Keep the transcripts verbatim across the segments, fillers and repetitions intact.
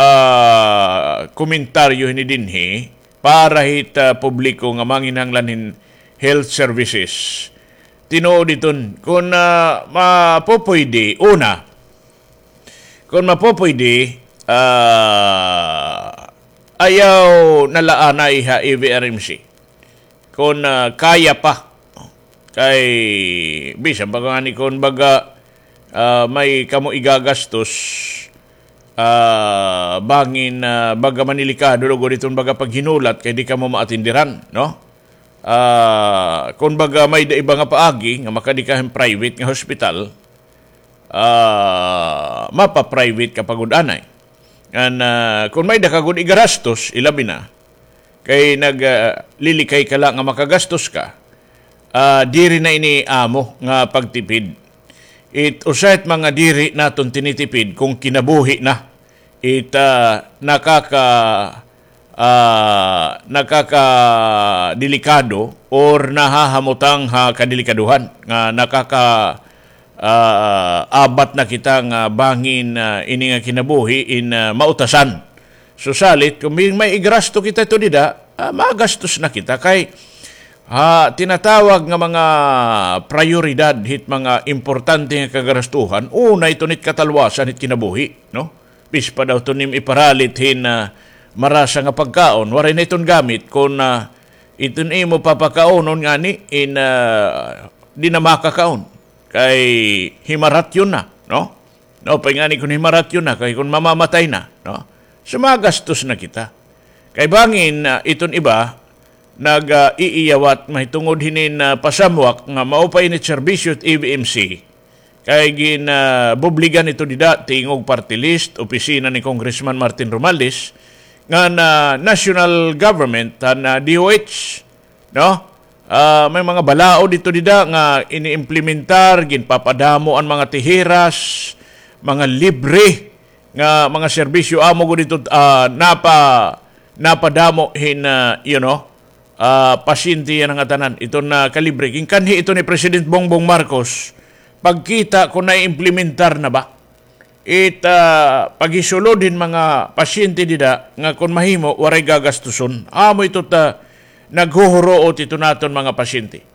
ah, komentaryo hini dinhi para hit, ah, publiko nga manginahanglan hin health services. Tinuod iton, kon, ah, mapupuyde, una, kon mapupuyde, ah, ayaw na la anay ha E V R M C. Kon, ah, kaya pa. Kay, bisan pa ngani kon baga, ah, may kamo igagastos, ah, bangin, ah, baga manilikado lugod iton baga paghinulat kay di kamo maatindiran, no? Ah, kon baga may-ada iba nga paagi nga makadi ka hin private nga hospital, ah, mapa-private ka pa gud anay. Ngan, ah, kon may-ada ka gud igarastos, ilabi na kay nag, ah, lilikay ka la nga makagastos ka, ah, diri na ini amo nga pagtipid. It usa it mga diri naton tinitipid kon kinabuhi na. It, ah, nakaka-, ah, nakakadelikado or nahahamutang ha kadelikaduhan nga nakaka-, ah, abat na kita nga bangin, ah, ini nga kinabuhi in, ah, mautasan. So, salit, kon may, may igasto kita ito dida, ah, magastos na kita kay, ha, tinatawag nga mga prayoridad hit mga importante nga kagarastuhan, una ito nit katalwasan hit kinabuhi, no? Pispa daw ito nim iparalit hin, ah, marasa nga pagkaon, waray na iton gamit kon, ah, iton imo papakaonon ngani in, ah, di na makakaon. Kay himaratyon na, no? No, pay ngani kon himaratyon na, kay kon mamamatay na, no? So, magastos na kita. Kay bangin, ah, iton iba, nag, ah, iiyawat mahitungod hinin, ah, pasamwak nga mao pa ini serbisyo it E V M C. Kay gin, ah, bubligan ito dida, tingog party list, opisina ni Congressman Martin Romualdez, nga na national government, han, ah, D O H, no? Ah, may mga balaod ito dida nga iniimplementar, ginpapadamo an mga tiheras, mga libre nga mga serbisyo amo gud ito, ah, napa-, napadamo hin, ah, you know, ah, pasyente yana nga tanan. Ito na kalibre. Ginkanhi ito ni President Bongbong Marcos. Pagkita kon naiimplementar na ba. It, ah, paghisulod hin mga pasyente dida nga kon mahimo, waray gagastuson. Amo ito ta naghuhuruot ito naton mga pasyente.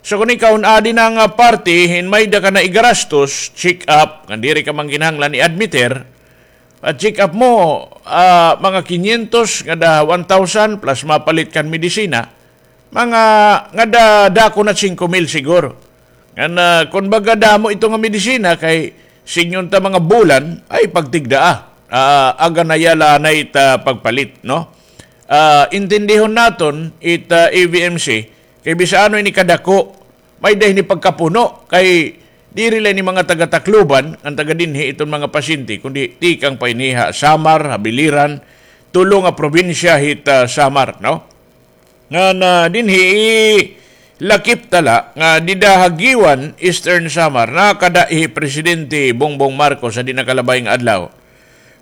So, kon ikaw adi na nga parte, hin may-ada ka na igarastos, check up, nga diri ka man ginahanglan i-admiter, at check up mo, ah, mga kinyentos ngada one thousand plus mapalit kan medisina, mga ngada dako na singko mil siguro. Ngan, ah, kon baga damo ito nga medisina kay sidngon ta mga bulan, ay pagtigdaa. Ah, aganaya la anay it, ah, pagpalit, no? Ah, intindihon naton it, ah, E V M C, kay bisan ano ini kadako, may-ada ini pagkapuno, kay diri la ini mga taga-Tacloban, an taga dinhi iton mga pasyente, kundi tikang pa ini ha Samar, ha Biliran, tulo nga probinsya hit, ah, Samar, no? Ngan, ah, dinhi, lakip ta la nga dida ha Guiuan, Eastern Samar, nakada hi Presidente Bongbong Marcos ha di nakalabay nga adlaw.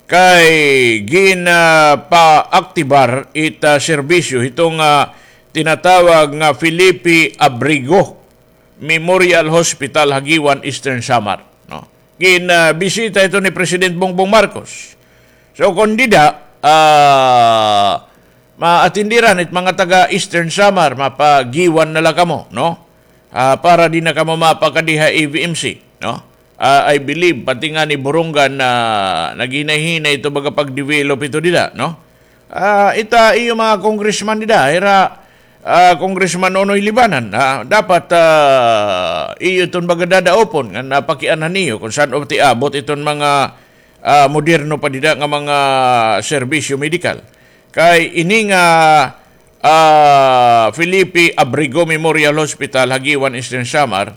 Kay gin, ah, paaktibar it, ah, serbisyo hiton, ah, tinatawag nga Felipe Abrigo Memorial Hospital ha Guiuan, Eastern Samar, no? Gin, ah, bisita ito ni President Bongbong Marcos. So, kon dida, ah, maatindiran it mga taga Eastern Samar, mapa-Guiuan na la kamo, no? Ah, para di na kamo mapakadi ha E V M C, no? Ah, I believe, pati ngani Borongan na naghinay-hinay ito baga pag-develop ito dida, no? Ah, ita iyo mga congressman dida, ira, ah, Congressman Nonoy Libanan, ah, dapat, ah, iyo iton baga dadaopon nga napakianhan niyo kon san-o ti abot iton mga, ah, moderno pa dida nga mga serbisyo medikal. Kay ini nga, ah, Felipe Abrigo Memorial Hospital ha Guiuan, Eastern Samar,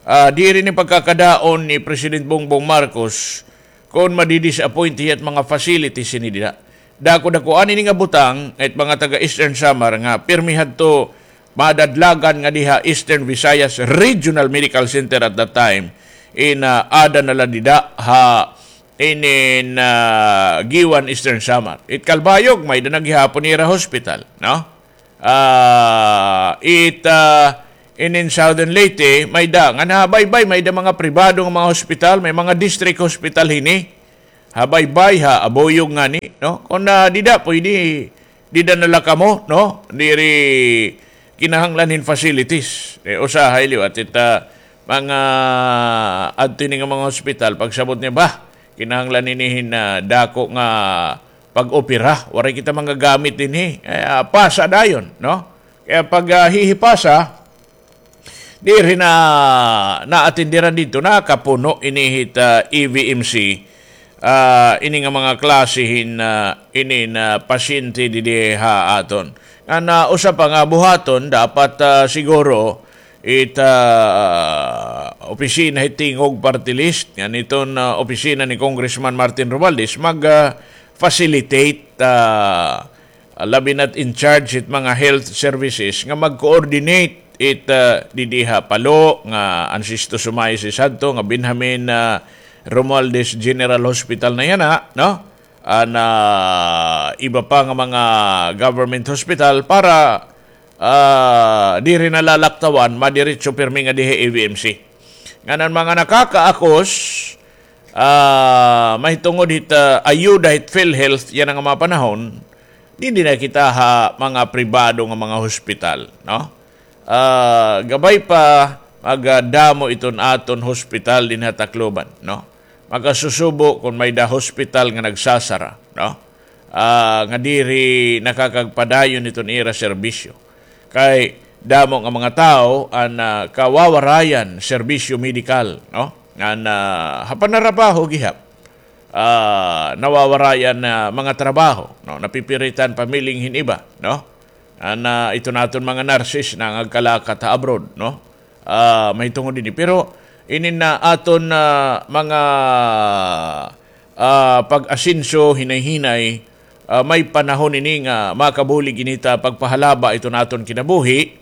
ah, diri ni pagkakadaon ni President Bongbong Marcos kon madi-disappoint hiya it mga facilities ini dida. Dako-dakoan ini nga butang it mga taga Eastern Samar nga pirmi hadto madadlagan ngadi ha Eastern Visayas Regional Medical Center at that time. In, ah, ada na la dida ha inin, ah, Guiuan, Eastern Samar. It Calbayog, may-ada na gihapon ira hospital, no? Ah, it, ah, inin Southern Leyte, may-ada. Ngan ha baybay, may-ada mga pribado nga mga hospital, may mga district hospital hini. ha baybay, ha abuyog ngani, no? Kon, ah, dida pwede, dida na la kamo, no? Diri kinahanglan hin facilities. Eh, usahay liwat it, ah, mga adto ini nga mga hospital, pagsabot niya, "Bah, kinahanglan ini hin, ah, dako nga pag-opera. Waray kita manggagamit dinhi." Eh, ah, pasa dayon, no? Kaya pag, ah, hihipasa, diri na naatindiran didto, nakapuno ini hit, ah, E V M C, ah, ini nga mga klase hin, ah, ini nga pasyente didi ha aton. Ngan, ah, usa pa nga buhaton, dapat, ah, siguro it, ah, opisina hit Tingog Party List, ngan iton, ah, opisina ni Congressman Martin Romualdez, mag, ah, facilitate, ah, ah, labi na't in charge it mga health services nga mag-coordinate it, ah, didi ha Palo nga an Sisto Sumay si Santo nga Benjamin, ah, Romualdez General Hospital na yana, no? An, ah, iba pa nga mga government hospital para, ah, diri na lalaktawan, madiretso pirmi nga diha E V M C. Ngan an mga nakakaakos, ah, mahitungod hit, ah, ayuda hit PhilHealth yana nga mga panahon, didi na kita ha mga pribado nga mga hospital, no? Ah, gabay pa, magadamo iton aton hospital dinhi ha Tacloban, no? Makasusubo kon may-ada hospital nga nagsasara, no? Ah, nga diri nakakagpadayon iton ira serbisyo. Kay damo nga mga tawo an, ah, kawawarayan serbisyo medikal, no? Ngan, ah, ha panarabaho gihap, ah, nawawarayan na mga trabaho, no? Napipiritan pamiling hin iba, no? An, ah, iton aton mga nurses nangagkalakat ha abroad, no? Ah, mahitungod ini. Pero inin nga aton, ah, mga, ah, pag-asenso, hinay-hinay, ah, may panahon ini nga makabulig ini ta pagpahalaba iton aton kinabuhi,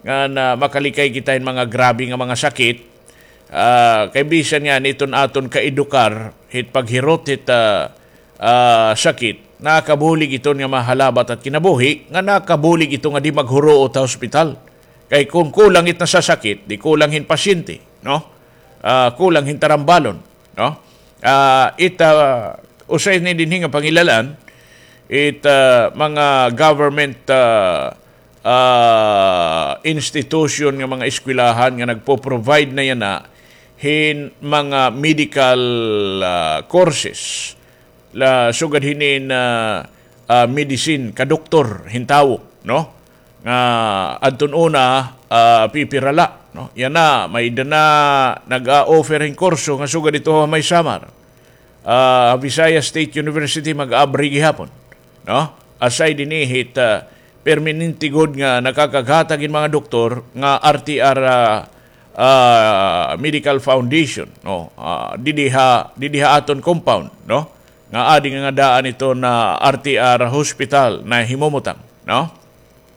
ngan, ah, makalikay kita hin mga grabe nga mga sakit. Ah, kay bisan ngani iton aton kaedukar hit paghirot hit, ah, ah, sakit, nakabulig iton nga mahalaba it at kinabuhi, ngan nakabulig ito nga di maghuruot ha hospital. Kay kon kulang it nasasakit, di kulang hin pasyente, no? Ah, kulang hin tarambalon, no? Ah, it, ah, usa ini dinhi nga pangilal-an, it, ah, mga government, ah, ah, institution nga mga eskwelahan nga nagpo-provide na yana hin mga medical, ah, courses. La, sugad hinin, ah, ah, medicine, kadoktor hin tawo, no? Nga adton una, ah, pipira la, no? Yana, may-ada na nag-a-offer hin kurso nga sugad didto ha may Samar. Ah, Visayas State University mag-abri gihapon, no? Aside dinhi hit, ah, permanente gud nga nakakaghatag hin mga doktor nga R T R, ah, ah, Medical Foundation, no? Ah, didi ha, didi ha aton compound, no? Nga adi nga daan ito nga R T R hospital nga himumutang, no?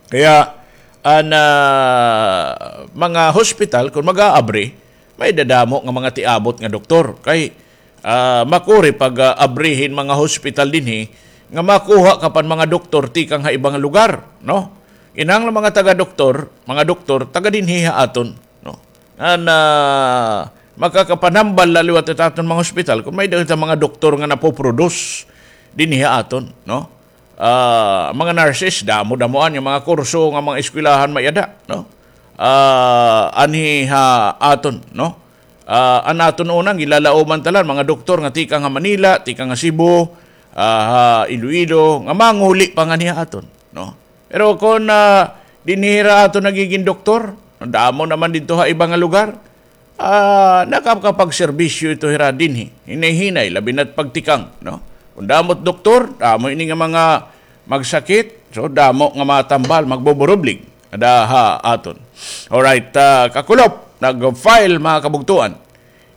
Kaya, an, ah, mga hospital, kon mag-aabri, may-ada damo nga mga tiabot nga doktor. Kay, ah, makuri pag, ah, abri hin mga hospital dinhi, nga makuha ka pa hin mga doktor tikang ha iba nga lugar, no? Kinahanglan mga taga-doktor, mga doktor, taga dinhi ha aton, no? An, ah, makakapanambal la liwat it aton mga hospital kon may-ada kita mga doktor nga napoproduce dinhi ha aton, no? Ah, mga nurses, damo-damoan nga mga kurso nga mga eskwelahan may-ada, no? Ah, anhi ha aton, no? Ah, an aton una, ginlalauman ta la, mga doktor nga tikang ha Manila, tikang ha Cebu, ah, ha Iloilo, nga manguli pa nganhi ha aton, no? Pero kon, ah, dinhi hira aton nagigin doktor, damo naman didto ha iba nga lugar, ah, nakakapagserbisyo ito hira dinhi. Hinay-hinay, labi na't pagtikang, no? Kon damo it doktor, damo ini nga mga magsakit, so damo nga matambal, magbuburublig. Ada ha aton. Alright, ah, kakulop, nag-file, mga kabugtuan,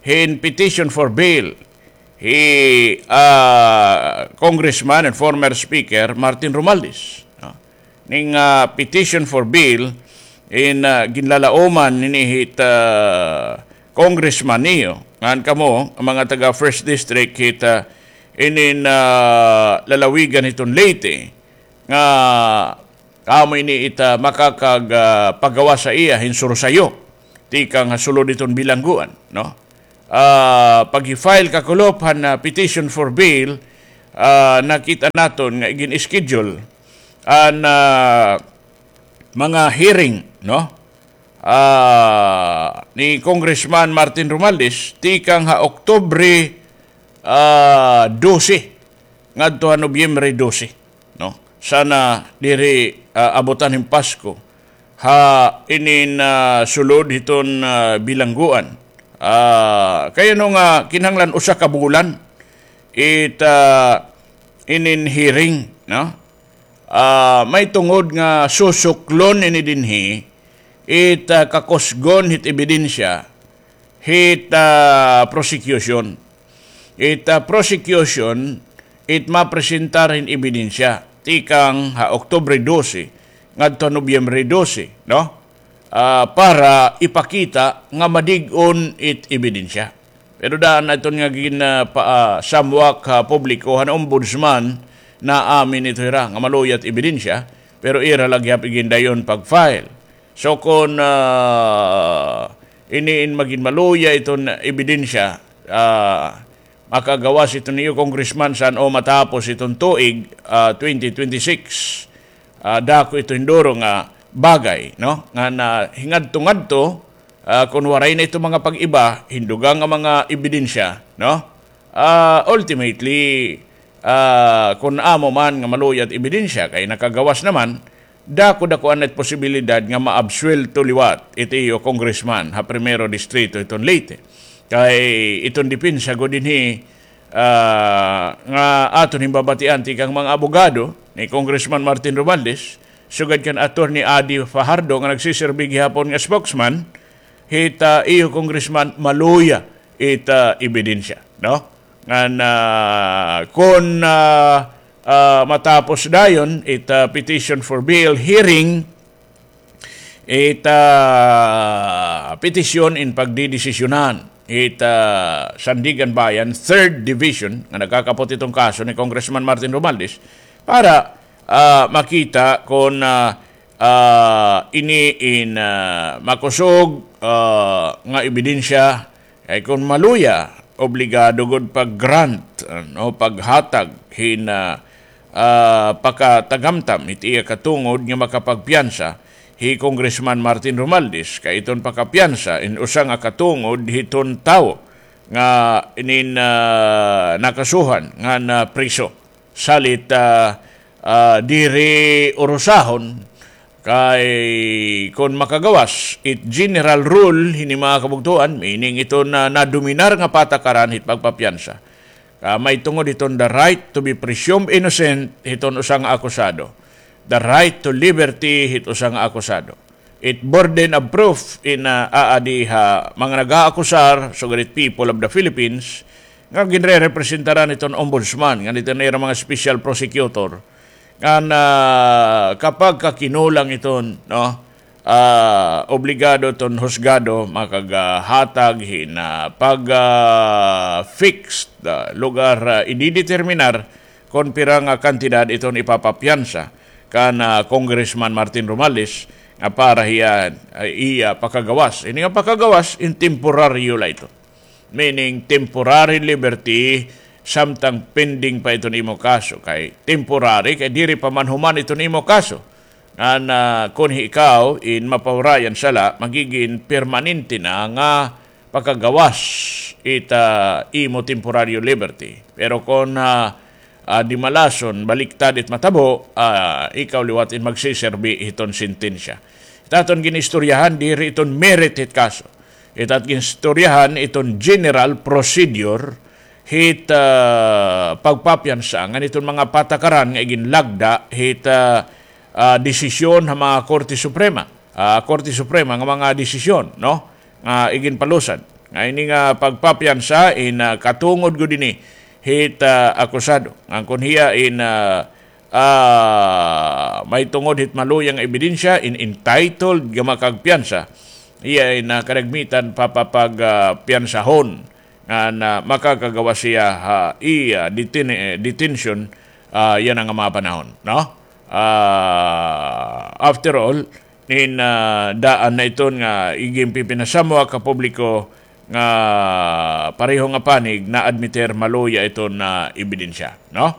hin petition for bail hi, ah, Congressman and former Speaker Martin Romualdez, no? Ning, ah, petition for bail in, ah, ginlalauman nini hit, ah, congressman niyo, ngan kamo, an mga taga First District hit, ah, inin, ah, lalawigan hiton Leyte, nga amo ini it, ah, makakag, ah, pagawas ha iya hin sursayo tikang ha sulod hiton bilangguan, no? ah, paghi-file kakulop han, ah, petition for bail, ah, nakita naton nga igin-schedule an, ah, mga hearing, no? Ah, ni Congressman Martin Romualdez, tikang ha Oktubre, ah, dose ngadto ha Nobyembre dose, no? Sana diri, ah, abutan hin Pasko ha inin, ah, sulod hiton, ah, bilangguan. Ah, kay ano nga kinahanglan usa ka bulan it, ah, inin hearing, no? Ah, may tungod nga susuklon ini dinhi it, ah, kakusgon hit ebidensya hit, ah, prosecution. It, ah, prosecution, it mapresentar hin ebidensya tikang ha Oktubre dose ngadto ha Nobyembre dose, no? Ah, para ipakita nga madig-on it ebidensya. Pero daan na iton nga gin, ah, pa, ah, samwak ha publiko han ombudsman, naamin ito hira nga maluya it ebidensya, pero ira la gihap igindayon pag-file. So, kon, ah, ini in magin maluya iton ebidensya, ah, makagawas iton iyo, Congressman, san-o matapos iton tuig, ah, twenty twenty-six. Ah, dako ito hin duro nga bagay, no? Nga na hingadto-ngadto, ah, kon waray na ito mga pag-iba, hin dugang nga mga ebidensya, no? Ah, ultimately, ah, kon amo man nga maluya it ebidensya, kay nakagawas naman, dako-dako anay it posibilidad nga maabsuwelto liwat it iyo congressman ha Primero Distrito hiton Leyte. Kay iton depensa gud dinhi, ah, nga aton hin babatian tikang mga abogado ni Congressman Martin Romualdez, sugad kan Attorney Adi Fajardo nga nagsiserbi gihapon nga spokesman, hit, ah, iyo congressman, maluya it, ah, ebidensya, no? Ngan, ah, kon, ah, ah, matapos dayon it, ah, petition for bail hearing, it, ah, petisyon in pagdidesisyonan it, ah, Sandiganbayan Third Division nga nagkakapot iton kaso ni Congressman Martin Romualdez para, ah, makita kon, ah, ah, ini in, ah, makusog, ah, nga ebidensya. Kay kon maluya, obligado gud pag-grant, ah, no, paghatag hin, ah, ah, pakatagamtam hit iya katungod nga makapagpiyansa hi Congressman Martin Romualdez, kay iton pakapiyansa in usa nga katungod hiton tawo nga inin, ah, nakasuhan ngan priso. Salit, ah, ah, diri urusahon, kay kon makagawas it general rule hini mga kabugtoan, meaning iton nadominar nga patakaran hit pagpapiyansa, ah, may tungod hiton the right to be presumed innocent hiton usa nga akusado, the right to liberty hit usa nga akusado, it burden of proof in, ah, aadi ha mga nag-aakusar, sugad it people of the Philippines, nga ginrerepresentaran hiton ombudsman, ngan hiton ira mga special prosecutor, ngan, ah, kapag kakinulang iton, no, ah, obligado iton husgado makaghatag hin, ah, pag, ah, fixed, ah, lugar, ah, idideterminar kon pira nga kantidad iton ipapapiyansa kan, ah, Congressman Martin Romualdez nga para hiya, ah, iya pakagawas. Ini nga pakagawas, in temporaryo la ito. Meaning, temporary liberty, samtang pending pa iton imo kaso. Kay temporary, kay diri pa man human iton imo kaso. Ngan, ah, kon ikaw in mapawrayan sala, magigin permanente na nga pakagawas it, ah, imo temporaryo liberty. Pero kon, ah, ah, di malason, baliktad it matabo, ah, ikaw liwat in magsiserbi hiton sentensya. It aton ginistoryahan, diri iton merit hit kaso. It aton ginistoryahan, iton general procedure hit, ah, pagpapiyansa ngan iton mga patakaran nga iginlagda hit, ah, ah, desisyon ha mga Korte Suprema, ah, Korte Suprema nga mga desisyon, no? Nga iginpalusad. Nga ini nga pagpapiyansa in, ah, katungod gud ini hit, ah, akusado. Ngan kon hiya in, ah, ah, may tungod hit maluya nga ebidensya, in entitled nga makagpiyansa, hiya in, ah, kadagmitan papapag, ah, piyansahon ngan, ah, makakagawas hiya ha iya detin-, eh, detention, ah, yana nga mga panahon, no? Ah, after all, nin, ah, daan na iton nga iginpipinasamwak ha publiko nga pareho nga panig na-admitir maluya iton ebidensya, no?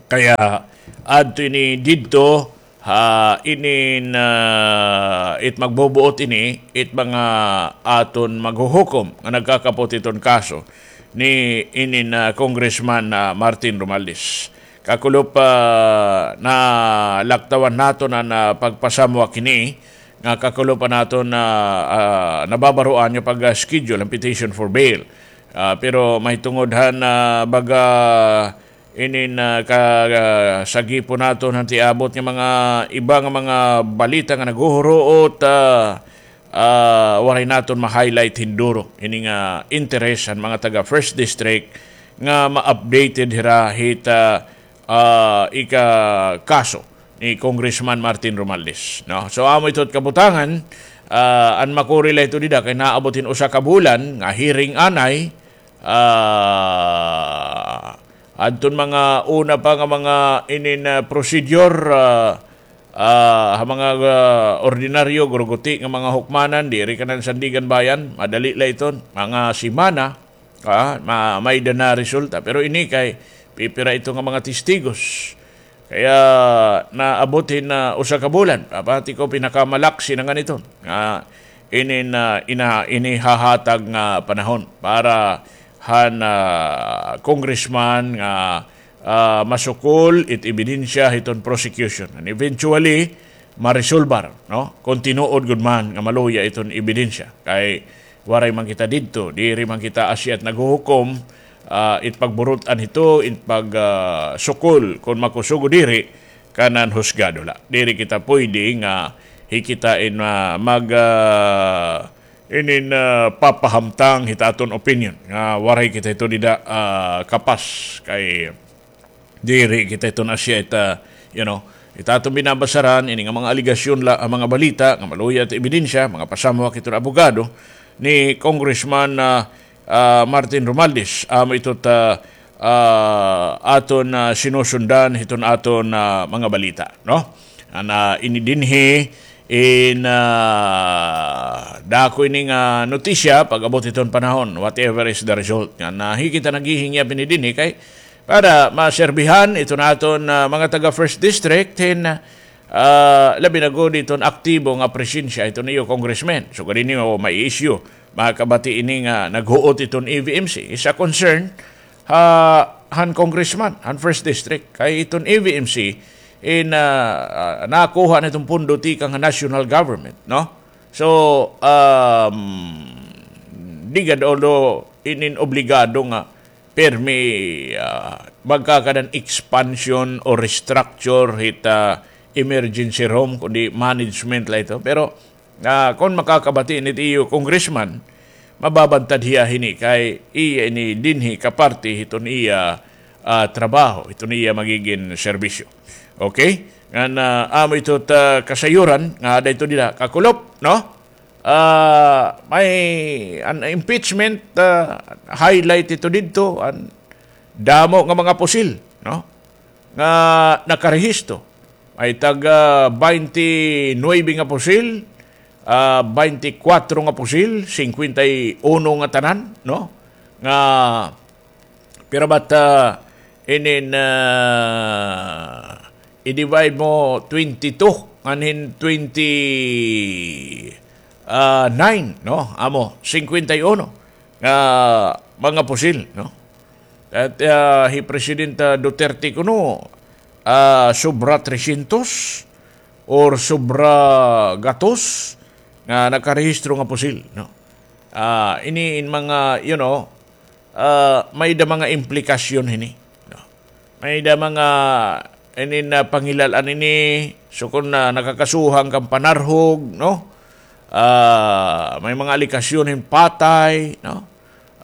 Kaya adto ini didto ha inin, ah, it magbubuot ini it mga aton maghuhukom nga nagkakapot iton kaso ni inin, ah, Congressman, ah, Martin Romualdez. Kakulop, ah, nalaktawan naton an, ah, pagpasamwak hini nga kakulop an aton, ah, ah, nababaroan nga pag-schedule han petition for bail. Ah, pero mahitungod han, ah, baga inin, ah, ka, ah, sagipon naton han tiabot nga mga iba nga mga balita nga naghuhuruot, ah, ah, waray naton ma-highlight hin duro ini nga interes han mga taga First District nga ma-updated hira hit, ah, ah, ika kaso ni Congressman Martin Romualdez, no? So, amo ito it kabutangan, ah, an makuri la ito dida kay naabot hin usa ka bulan nga hearing anay, ah, adton mga una pa nga mga inin, ah, procedure, ah, ah, ha mga, ah, ordinaryo, guruguti nga mga hukmanan, diri kanan Sandiganbayan, madali la iton, mga semana, ah, ma-, may-ada na resulta. Pero ini kay pipira ito nga mga testigos. Kaya naabot hin, ah, usa ka bulan, papati ko pinakamalaksi na ngan iton nga inin, ah, ina-, inihahatag nga panahon para han, ah, congressman nga, ah, masukol it ebidensya hiton prosecution. And eventually, maresolbar, no? Kon tinuod gud man nga maluya iton ebidensya. Kay waray man kita didto, diri man kita asya it naghuhukom, ah, it pagburut-an hito, it pag, ah, sukol, kon makusog o diri, kanan husgado la. Diri kita pwede nga hikita in, ah, mag, ah, inin, ah, papahamtang hit aton opinion nga waray kita hito dida, ah, kapas kay diri kita iton asya it, ah, you know, it aton binabasaran ini nga mga alegasyon la, ah, mga balita nga maluya it ebidensya, mga pasamwak iton abogado ni Congressman, ah, ah, Martin Romualdez, amo ito ta, ah, aton, ah, sinusundan hiton aton, ah, mga balita, no? An, ah, ini dinhi in, ah, dako ini nga notisya pag-abot hiton panahon, whatever is the result. Nga nahi kita naghihingyap ini dinhi kay para maserbihan iton aton, ah, mga taga First District hin, ah, labi na gud iton aktibo nga presensya iton iyo congressman. So, gani niyo may issue, makabati ini nga naghuot iton E V M C. Is a concern ha, han congressman, han First District. Kay iton E V M C, in, ah, ah, nakuha na iton pundo tikang han national government, no? So, um, di gad, although in, in obligado nga permi, ah, magkakanan expansion o restructure hit, ah, emergency room, kundi management la ito. Pero, ah, kon makakabati ini it iyo congressman, mababantad hiya hini kay iya ini dinhi kaparte hiton iya, ah, trabaho, hiton iya magigin serbisyo. Okay? Ngan, ah, amo ito ta kasayuran nga ada ito dida kakulop, no? Ah, may an impeachment, ah, highlight ito didto, an damo nga mga pusil, no? Nga nakarehistro. May tag, ah, baynte nuwebe nga pusil, ah, baynte kwatro nga pusil, singkwenta y uno nga tanan, no? Nga, pero but, ah, inin, ah, i-divide mo twenty-two, ngan hin twenty, ah, nine, no? Amo, singkwenta y uno nga mga pusil, no? At, ah, hi Presidente Duterte kuno, ah, sobra trescientos or sobra gatos nga nakarehistro nga pusil, no? Ah, ini in mga, you know, ah, may-ada mga implikasyon hini, no? May-ada mga, ini na panghilal-an ini, so kon na nakakasuhan kan panarhog, no? Ah, may mga alegasyon hin patay, no?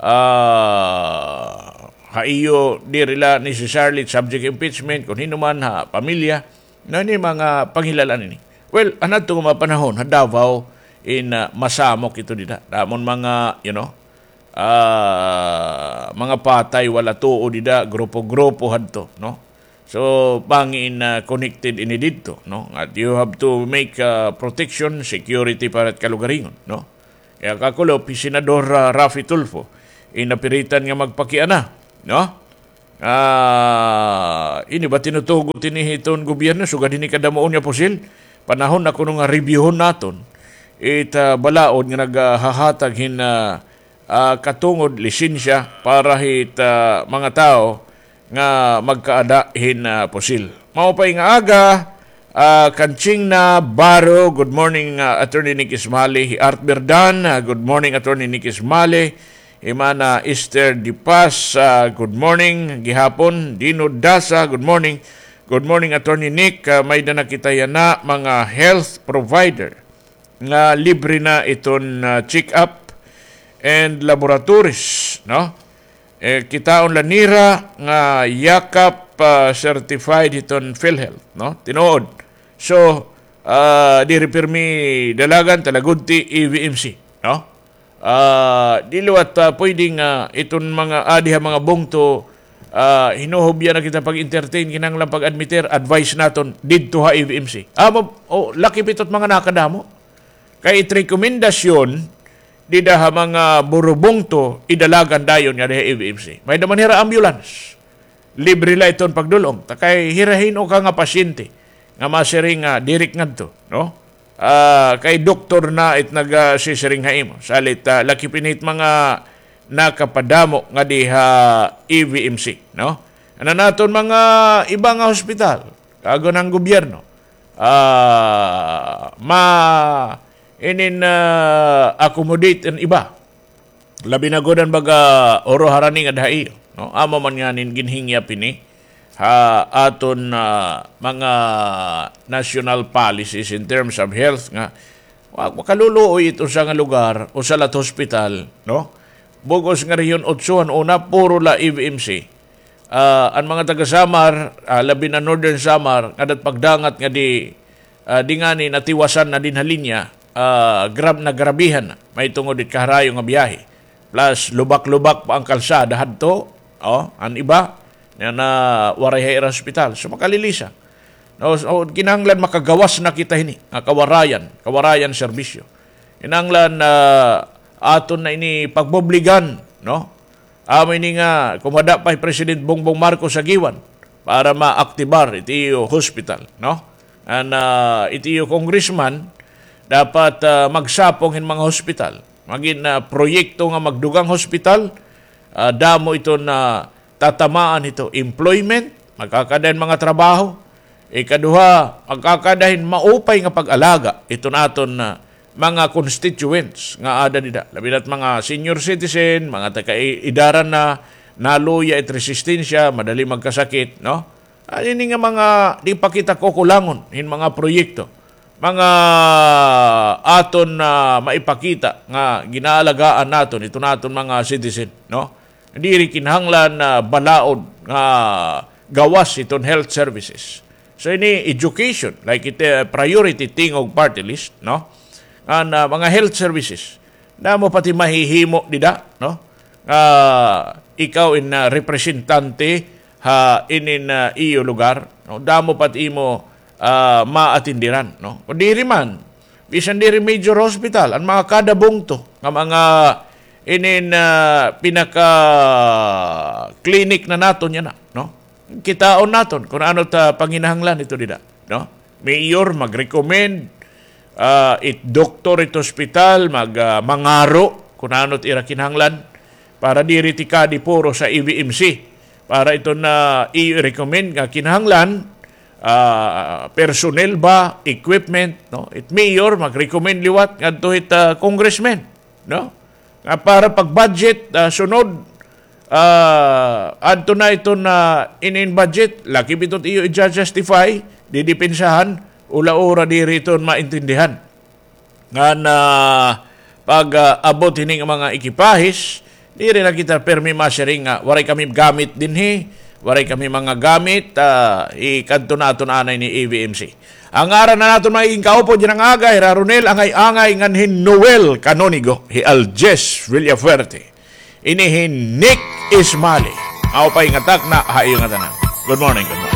Ah, ha iyo, diri la necessarily subject impeachment, kon hin-o man ha pamilya, no, ini mga panghilal-an ini. Well, an adto nga mga panahon, ha Davao, in, ah, masamok ito dida. Damo nga mga, you know, ah, mga patay, wala tuo dida, grupo-grupo hadto, no? So, bangin, ah, connected ini didto, no? Nga you have to make, ah, protection, security para it kalugaringon, no? Kay kakulop hi Senador, ah, Raffy Tulfo, in napiritan nga magpakiana, no? Ah, ini ba tinutugot ini hiton gobyerno, sugad hini kadamuon nga pusil? Panahon na kuno nga reviewhon naton it, ah, balaod nga naghahatag hin, ah, ah, katungod lisensya para hit, ah, mga tawo nga magkaada hin, ah, pusil. Maupay nga aga, ah, Kanching Navarro, good morning, ah, Attorney Nick Ismali, hi Art Berdan, ah, good morning, Attorney Nick Ismali, Imana Esther Dipas, ah, good morning, gihapon, Dino Dasa, good morning, good morning, Attorney Nick, ah, may-ada na kita yana, mga health provider nga libre na iton, ah, check-up and laboratories, no? Eh, kitaon la nira nga yakap, ah, certified hiton PhilHealth, no? Tinuod. So, ah, diri pirmi dalagan, talagudti, E V M C, no? Ah, di liwat, ah, pwede nga iton mga adi ha mga bungto, ah, hinuhubya na kita pag-entertain, kinahanglan pag-admitir, advice naton didto ha E V M C. Amo, oh, lakip ito it mga nakadamo. Kay it rekomendasyon dida ha mga burubungto, idalagan dayon nga diha E V M C. May-ada man hira ambulance. Libre la iton pagdul-ong. Ta kay hira hin-o ka nga pasyente nga masiring nga diri ngadto, no? Ah, kay doktor na it nagasisiring ha imo. Salit, ah, lakip ini it mga nakapadamo nga diha E V M C, no? Ano naton mga iba nga hospital, kago ng gobyerno, ah, ma-, inin, ah, accommodate an iba. Labi na gud an baga oro harani nga diha iyo, no? Amo man nganin ginhingyap ini ha aton, ah, mga national policies in terms of health nga wa-, makaluluoy it usa nga lugar, usa la it hospital, no? Bug-os nga Rehiyon Otso han una, puro la E V M C. Ah, an mga taga Samar, ah, labi na Northern Samar, ngada it pagdangat nga di, ah, di ngani natiwasan na dinhi ha linya, ah, grab-, nagrabihan na. Mahitungod it kaharayo nga biyahe. Plus, lubak-lubak pa an kalsada hadto, oh, an iba, nga na waray ha ira hospital. So, makalilisa. No, so, kinahanglan makagawas na kita hini, nga kawarayan, kawarayan serbisyo. Kinahanglan, ah, aton na ini pagbobligan, no? Amo ini nga kumada pa hi President Bongbong Marcos Aguiwan para maaktibar it iyo hospital, no? An, ah, it iyo congressman dapat, ah, magsapong hin mga hospital. Magin, ah, proyekto nga magdugang hospital, ah, damo iton tatamaan hito, employment, magkakada hin mga trabaho. Ikaduha, magkakada hin maupay nga pag-alaga iton aton, ah, mga constituents nga ada dida. Labi na it mga senior citizen, mga taga-edaran na, naluya it resistensya, madali magkasakit, no? Ah, ini nga mga di pa kita kukulangon hin mga proyekto. Mga aton na maipakita nga ginaalagaan naton iton aton mga citizen, no? Diri kinahanglan na balaod nga gawas iton health services. So, ini education, like it, uh, priority tingog party list, no? An, uh, mga health services, damo pa it mahihimo dida, no? Nga ikaw in, uh, representante ha inin, uh, iyo lugar, no? Damo pa it imo, uh, maatindiran, no? Kon diri man, bisan diri major hospital, an mga kada bungto nga mga inin, ah, pinaka-clinic na naton yana, no? Kitaon naton kun ano it panginahanglan ito dida, no? Mayor mag-recommend, ah, it doktor, it hospital mag, ah, mangaro kun ano it ira kinahanglan para diri tikadi puro sa E V M C. Para ito na i-recommend nga kinahanglan, ah, personnel ba, equipment, no? It mayor mag-recommend liwat ngadto hit, ah, congressman, no? Nga para pag-budget, ah, sunod, ah, adto na iton, ah, inin budget, lakip iton iyo i-justify, didepensahan, ula-ula diri iton maintindihan. Ngan, ah, pag, ah, abot hini nga mga ekipahis, diri na kita pirmi masiring nga waray kami gamit dinhi, waray kami mga gamit, ah, ikadto naton anay ni E V M C. An ngaran han aton mga igkaupo dinhi nga aga, hi Ra Ronel Angay-angay ngan hi Noel Canonigo, hi Aljes Villafuerte. Ini hi Nick Ismali. Maupay nga takna ha iyo ngatanan. Good morning, good morning.